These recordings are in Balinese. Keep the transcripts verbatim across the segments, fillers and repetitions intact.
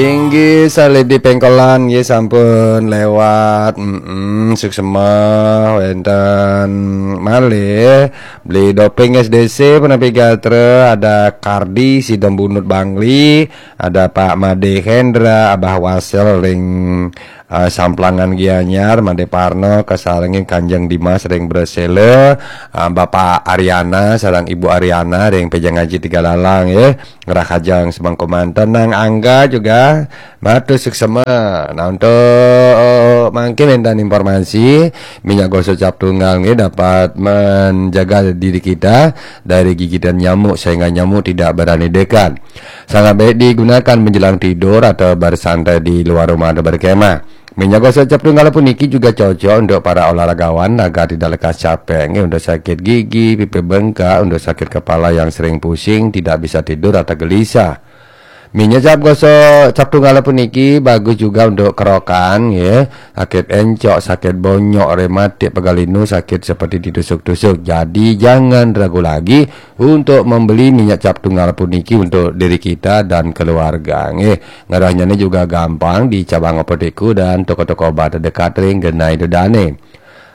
Inggih, salib di pengkolan nggih sampun lewat. Mm-mm, suksema wenten malih. Beli Doping S D C punapi gatra, ada Kardi Sidom Bunut Bangli, ada Pak Made Hendra, Abah Wasel ring eh, Samplangan Gianyar, Made Parno, kasarengin Kanjeng Dimas ring Bresela, eh, Bapak Ariana sareng Ibu Ariana ring Pejang Aji Tiga Lalang ya. Ngrahajeng semengko manten, Nang Angga juga matur suksema. Nah, untuk mangkin wenten informasi, minyak gosok cap tunggal nggih dapat menjaga diri kita dari gigitan nyamuk sehingga nyamuk tidak berani dekat. Sangat baik digunakan menjelang tidur atau bersantai di luar rumah atau berkemah. Minyak gosok cap tunggal puniki juga cocok untuk para olahragawan agar tidak lekas capek, nggih, untuk sakit gigi, pipi bengkak, untuk sakit kepala yang sering pusing, tidak bisa tidur atau gelisah. Minyak cap gosok cap tunggal puniki bagus juga untuk kerokan, ya. Sakit encok, sakit bonyok, rematik, pegal linu, sakit seperti ditusuk-tusuk. Jadi jangan ragu lagi untuk membeli minyak cap tunggal puniki untuk diri kita dan keluarga. Nggih, ngerohnyané juga gampang di cabang apotekku dan toko-toko obat terdekat ring genah dané.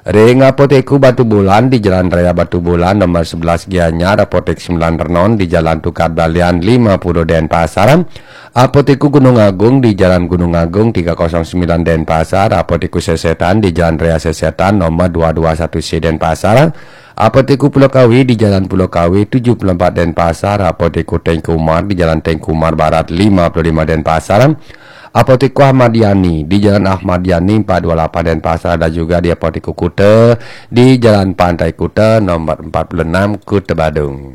Ring Apotekku Batubulan di Jalan Raya Batubulan nomor sebelas Gianyar, Apotek Sembilan Renon di Jalan Tukad Balian lima puluh Denpasar, Apotekku Gunung Agung di Jalan Gunung Agung tiga kosong sembilan Denpasar, Apotekku Sesetan di Jalan Raya Sesetan nomor dua dua satu C Denpasar, Apotekku Pulau Kawi di Jalan Pulau Kawi tujuh puluh empat Denpasar, Apotekku Tengku Umar di Jalan Tengku Umar Barat lima puluh lima Denpasar, Apotekku Ahmad Yani di Jalan Ahmad Yani empat dua lapan Denpasar, dan juga di Apotekku Kuta di Jalan Pantai Kuta nomor empat puluh enam Kuta Badung.